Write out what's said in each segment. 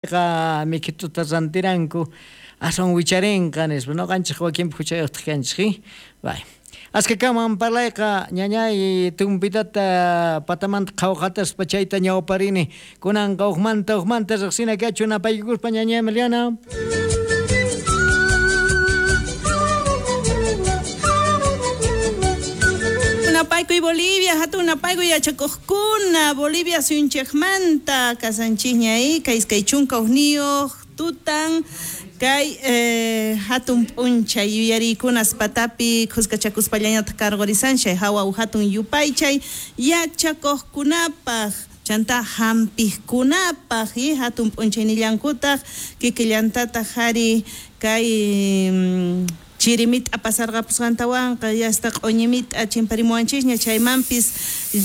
Qa mikhituta rantiranku aswan wicharinqa nispa noqanchik wakinpi huchayuqtaq kanchik bay askakaman parlayqa ñañay tumpitata patamanta qhawqataspa chayta ñawparini kunanqa hukmanta hukmanta riqsina kachun napaykukuspa ñañay Emiliana. Napaykuy Bolivia, hatun napaykuy yachakojkuna, Bolivia suyunchejmanta kasanchikña kay 21 tutan kay hatun p'unchay yuyariykunas patapi khuskachakuspallañataq karqurisanchay hawa hatun yupaychay yachakojkunapaq chanta hampijkunapaq y hatun p'unchaynillankutaq kikillantataq hari kay chirimita pasarqapusqantawanqa yasta q'uñimita chimparimuwanchisña chaymanpis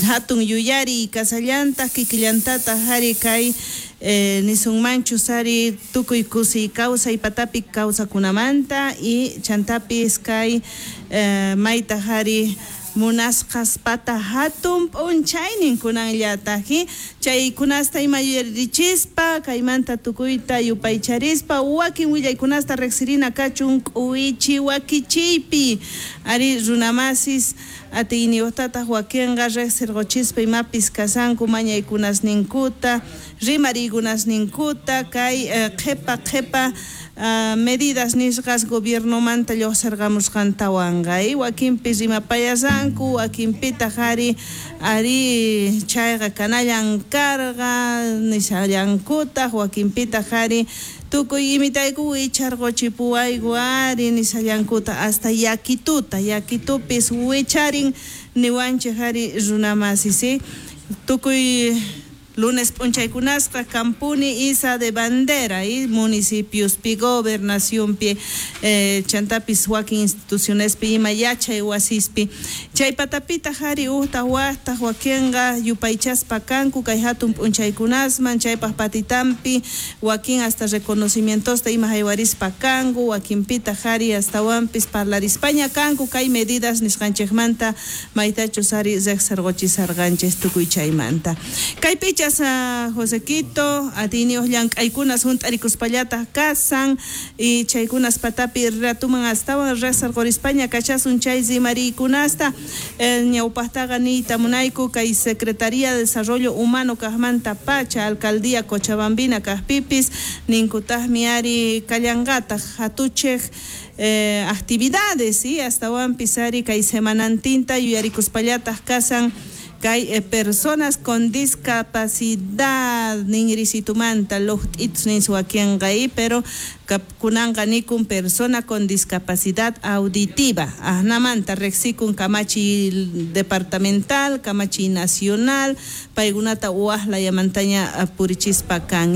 hatun yuyariy kasallantaq kikillantataq hari kay nisunmanchus hari tukuy kusiy kawsay patapi kawsakunamanta y chantapis kay mayta hari munasqas pata hatun p'unchaynin kunanllataq chaykunasta ima yuyarichispa kaymanta tukuyta yupaycharispa wakin willaykunasta riqsirina kachun k'uwichi wakichiypi ari runamasis atiyniyuqtataq wakinqa riqsirquchispa imapis kasanku mañaykunasninkuta rimariykunasninkuta kay qhipa qhipa medidas nisqas gobiernomanta lluqsirqamusqantawanqa wakinpis rimapayasanku wakinpitaq ari ari chayqa kanallan karqa nishallankutaq wakinpitaq ari tukuy imitayku wicharquchipuwayku ari nishallankuta hasta yakituta yakitupis wicharin niwanchik ari runamasis tukuy lunes p'unchaykunasqa kampuni isa de bandera y municipiospi gobernacionpi chantapis wakin institucionespi ima yachay wasispi chay patapitaq ari uqtaq waqtaq wakinqa yupaychaspa kanku kay hatun p'unchaykunasman chaypaq patitampi wakin hasta reconocimientosta ima haywarispa kanku wakinpitaq ari astawanpis parlarispaña kanku kay medidas nisqanchikmanta maytachus ari riqsirquchisarqanchik tukuy chaymanta kay picha Josequito, atiyniyuq llank'aykunas hunt'arikuspallataq kasan y chaykunas patapi ratuman astawan riqsirqurispaña kachasun chay rimariykunasta ñawpaqtaqa niyta munayku kay Secretaría de Desarrollo Humano kaqmanta pacha Alcaldía Cochabambina kaqpipis ninkutaqmi ari kallanqataq hatuchiq actividades y astawanpis ari kay semanantinta yuyarikuspallataq kasan kay personas con discapacidad ninrisitumanta luqt'itus nin wakinqa pero kunanqa nikun persona con discapacidad auditiva ajnamanta riqsikun kamachiy departamental kamachiy nacional paykunata waqlayamantaña purichispa kan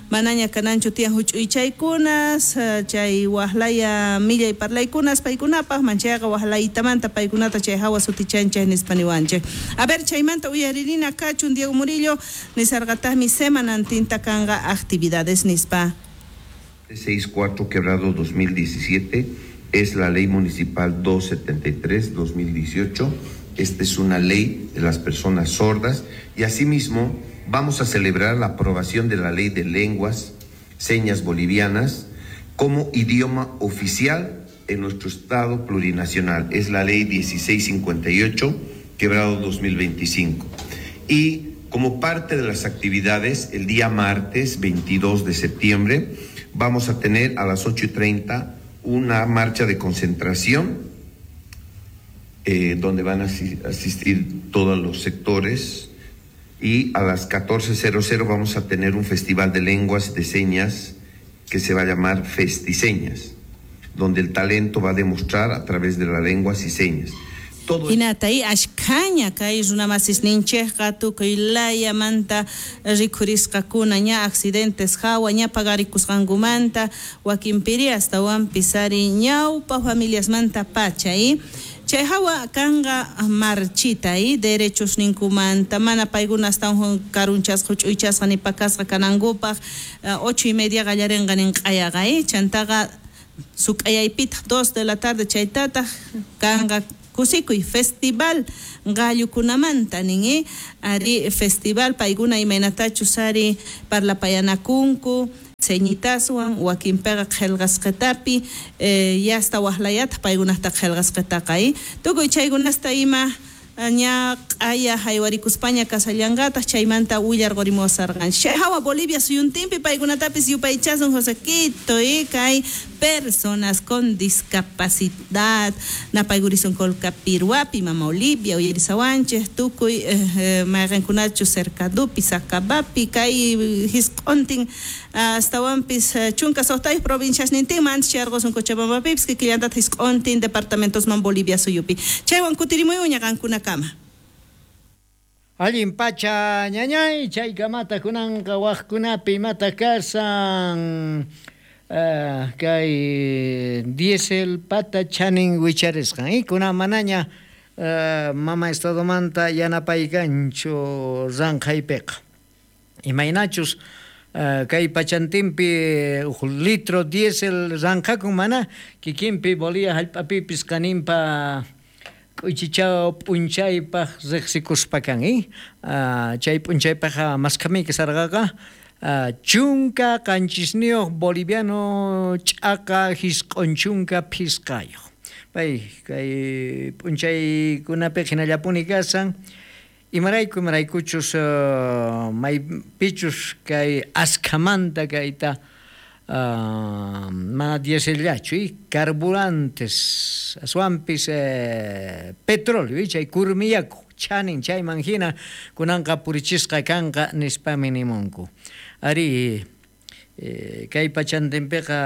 manaña kananchu tiyan huch'uychaykunas chay waqlaya millay parlaykunas paykunapaq manchayqa waqlaytamanta paykunata chay hawa sutichanchik nispa niwanchik. A ver chaymanta uyaririna kachun Diego Murillo nisarqataqmi semanantinta kanqa actividades nispa. 64 quebrado 2017 es la ley municipal 273 2018. Esta es una ley de las personas sordas y asimismo vamos a celebrar la aprobación de la ley de lenguas, señas bolivianas como idioma oficial en nuestro estado plurinacional. Es la ley 1658 quebrado 2025. Y como parte de las actividades, el día martes 22 de septiembre vamos a tener a las 8:30 una marcha de concentración donde van a asistir todos los sectores y a las 14:00 vamos a tener un festival de lenguas de señas que se va a llamar Festiseñas, donde el talento va a demostrar a través de las lenguas y señas. Hinata y ashkaña kay runamasisninchikqa tukuy layamanta rikhurisqakuna ña accidentes hawa ña pagarikusqankumanta wakinpiri astawanpis ari ñawpa familiasmanta pacha chay hawa kanqa marchita derechos ninkumanta mana paykuna astawan karunchasqa huch'uychasqa nipakasqa kanankupaq 8:30 qallarinqa nin q'ayaqa chantaqa suk'ayaypitaq 2 de la tarde chaytataq kanqa kusikuy festival gallukunamanta nin ari festival paykuna imaynatachus ari parlapayanakunku. Señitaswan wakinpiqa qillqasqitapi yasta waqlayataq paykunata qillqasqitaqa tukuy chaykunasta ima ña q'aya haywarikuspaña kasallanqataq chaymanta willarqurimuwasarqanchik. Chay hawa Bolivia suyuntinpi paykunatapis yupaychasun Josequito kay personas con discapacidad napaykurisun Colcapirhuapi Mama Olivia uyarisawanchik tukuy mayqinkunachus Cercadupi Sacabapi kay hisq'untin astawanpis 16 provinciasnintinman antes chayarqusun Cochabambapipis kikillantataq hisq'untin departamentosman Bolivia suyupi. Chaywan kutirimuyuña qankunakama. Allin pacha ñañay chaykamata kunanqa waqkunapi imata kasan kay diesel pata chanin wicharisqan kunan manaña mama estadomanta yanapaykanchu ranqhaypiqa imaynachus kay pachantinpi uj litro diesel ranqhakun mana kikinpi Bolivia hallp'apipis qaninpa k'uychichaw p'unchaypaq riqsikuspa kan chay p'unchaypaqqa maskhamiyki sarqaqa 17 boliviano ch'aqa 95 pay kay p'unchaykunapi hinallapuni kasan imarayku imaraykuchus maypichus kay askhamanta kayta mana diesellachu carburantes aswanpis petróleo chay kurmiyaku chanin chayman hina kunanqa purichisqa kanqa nispami nimunku ari kay pachantinpiqa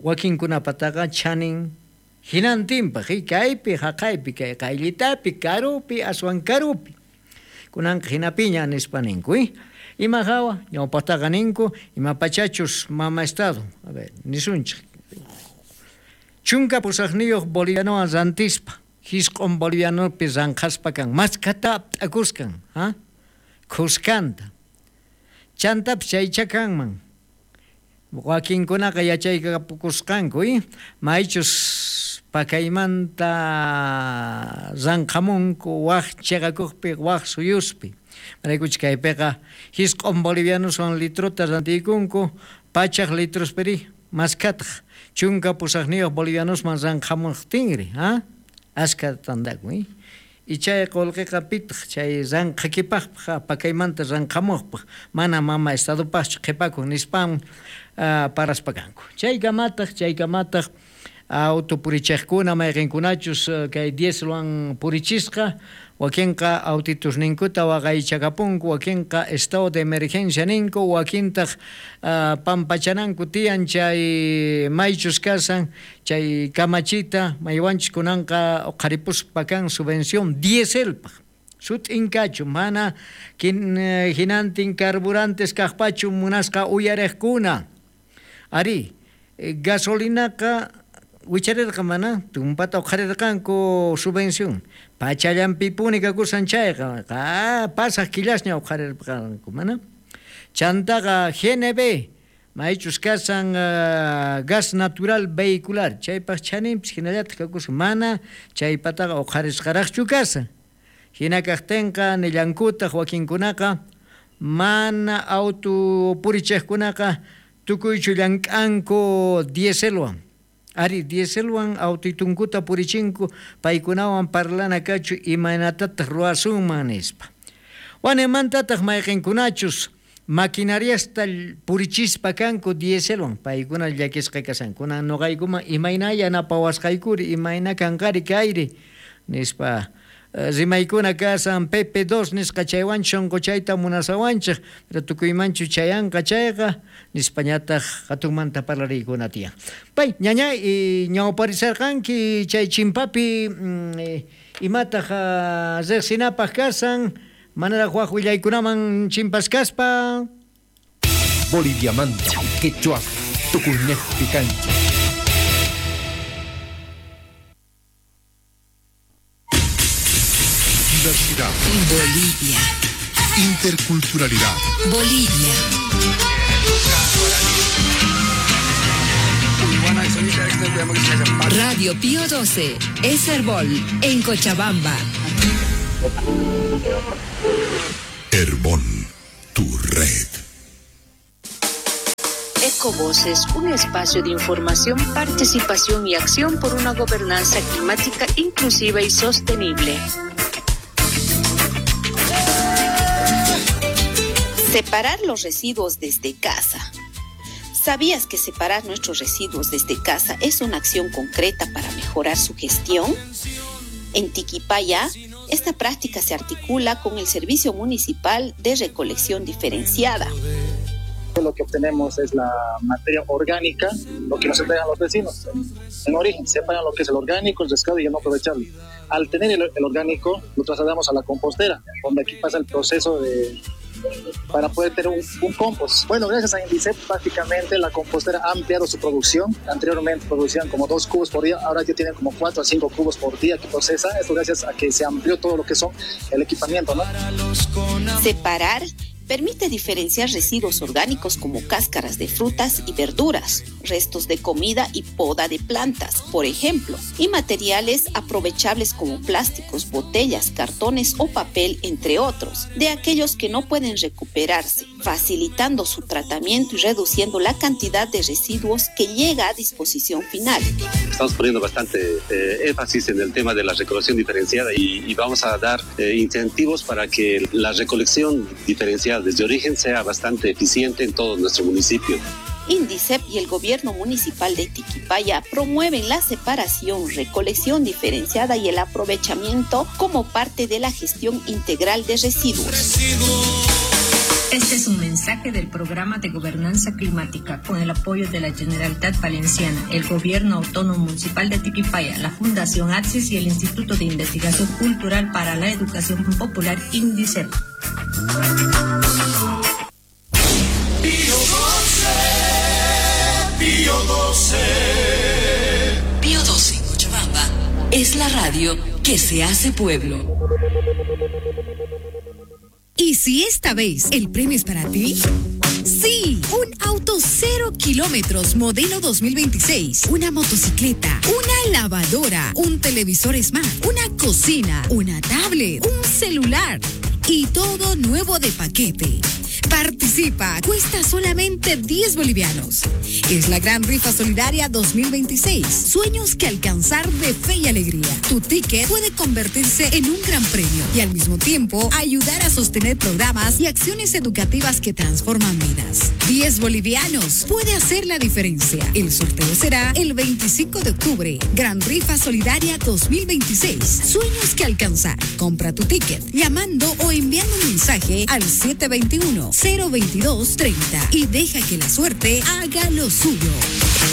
wakinkunapataqa chanin hinantinpaq kaypi haqaypi kay qayllitapi karupi aswan karupi kunanqa hinapiña nispa ninku ima hawa ñawpaqtaqa ninku ima pachachus mama estado a ver nisunchik 18 bolivianowan rantispa 9 bolivianopi ranqhaspa kan maskata p'akuskan khuskanta chantapis chaycha kanman wakinkunaqa yachaykapukusqanku maychus pakaymanta ranqhamunku waq chiqakuqpi waq suyuspi maraykuchik kaypiqa 9 bolivianoswan litrota rantiykunku 100 litrospiri maskataq 18 bolivianosman ranqhamuqtinri askha tantakun y chay qullqiqa pitaq chay ranqhakipaqpaq pakaymanta ranqhamuqpaq mana mama estadopaqchu qhipakun nispan paraspa kanku chaykamataq auto purichiqkuna mayqinkunachus kay dieselwan purichisqa wakinqa autitusninkuta waqaychakapunku wakinqa estado de emergencia ninku wakintaq pampachananku tiyan chay maychus kasan chay kamachita maywanchus kunanqa uqharipuspa kan subvención dieselpaq sut'inkachu mana hinantin carburantes kaqpachu munasqa uyariqkuna ari gasolinaqa wicharirqa mana tumpata uqharirqanku subvención pachallanpipuni kakusan chayqa pasaq killasña uqharirqanku mana chantaqa GNB maychus kasan gas natural vehicular chaypaq chaninpis hinallataq kakusan mana chaypataqa uqharisqaraqchu kasan hina kaqtinqa nillankutaq wakinkunaqa mana auto purichiqkunaqa tukuychu llank'anku dieselwan ari dieselwan autitunkuta purichinku paykunawan parlana kachu imaynatataq ruwasunman nispa wanemantataq mayqinkunachus maquinariasta purichispa kanku dieselwan paykuna llakisqa kasan kunan nuqaykuman imayna yanapawasqaykuri imayna kanqari kayri nispa rimaykuna kasan PP2 nisqa chaywanchu shunquchayta munasawanchik pero tukuymanchu chayanqa chayqa nispañataq hatunmanta parlariykuna tiyan pay ñaña ñawparisarqanki chay chimpapi imataq riqsinapaq kasan manaraq waq willaykunaman chimpaskaspa Boliviamanta quechua tukuynejpi kanchik. Diversidad. Bolivia. Interculturalidad. Bolivia. Radio Pío 12, Herbol, en Cochabamba. Herbol, tu red. Ecovoces, un espacio de información, participación y acción por una gobernanza climática inclusiva y sostenible. Separar los residuos desde casa. ¿Sabías que separar nuestros residuos desde casa es una acción concreta para mejorar su gestión? En Tiquipaya, esta práctica se articula con el Servicio Municipal de Recolección Diferenciada. Lo que obtenemos es la materia orgánica, lo que nos entregan los vecinos. En origen, separan lo que es el orgánico, el rescate y el no aprovechable. Al tener el orgánico, lo trasladamos a la compostera, donde aquí pasa el proceso para poder tener un compost. Bueno, gracias a Indicep, prácticamente la compostera ha ampliado su producción. Anteriormente producían como 2 cubos por día, ahora ya tienen como 4 a 5 cubos por día que procesa. Esto gracias a que se amplió todo lo que son el equipamiento, ¿no? Separar permite diferenciar residuos orgánicos como cáscaras de frutas y verduras, restos de comida y poda de plantas, por ejemplo, y materiales aprovechables como plásticos, botellas, cartones o papel, entre otros, de aquellos que no pueden recuperarse, facilitando su tratamiento y reduciendo la cantidad de residuos que llega a disposición final. Estamos poniendo bastante énfasis en el tema de la recolección diferenciada y vamos a dar incentivos para que la recolección diferenciada desde origen sea bastante eficiente en todo nuestro municipio. Indicep y el gobierno municipal de Tiquipaya promueven la separación, recolección diferenciada y el aprovechamiento como parte de la gestión integral de residuos. Este es un mensaje del Programa de Gobernanza Climática con el apoyo de la Generalitat Valenciana, el Gobierno Autónomo Municipal de Tiquipaya, la Fundación Axis y el Instituto de Investigación Cultural para la Educación Popular Indicep. Pío 12, Pío 12. Pío 12 en Cochabamba es la radio que se hace pueblo. ¿Y si esta vez el premio es para ti? Sí, un auto 0 kilómetros modelo 2026, una motocicleta, una lavadora, un televisor smart, una cocina, una tablet, un celular y todo nuevo de paquete. Participa, cuesta solamente 10 bolivianos. Es la gran rifa solidaria 2026. Sueños que alcanzar de fe y alegría. Tu ticket puede convertirse en un gran premio y al mismo tiempo ayudar a sostener programas y acciones educativas que transforman vidas. 10 bolivianos puede hacer la diferencia. El sorteo será el 25 de octubre. Gran rifa solidaria 2026. Sueños que alcanzar. Compra tu ticket llamando o enviando un mensaje al 721 022 30 y deja que la suerte haga lo suyo.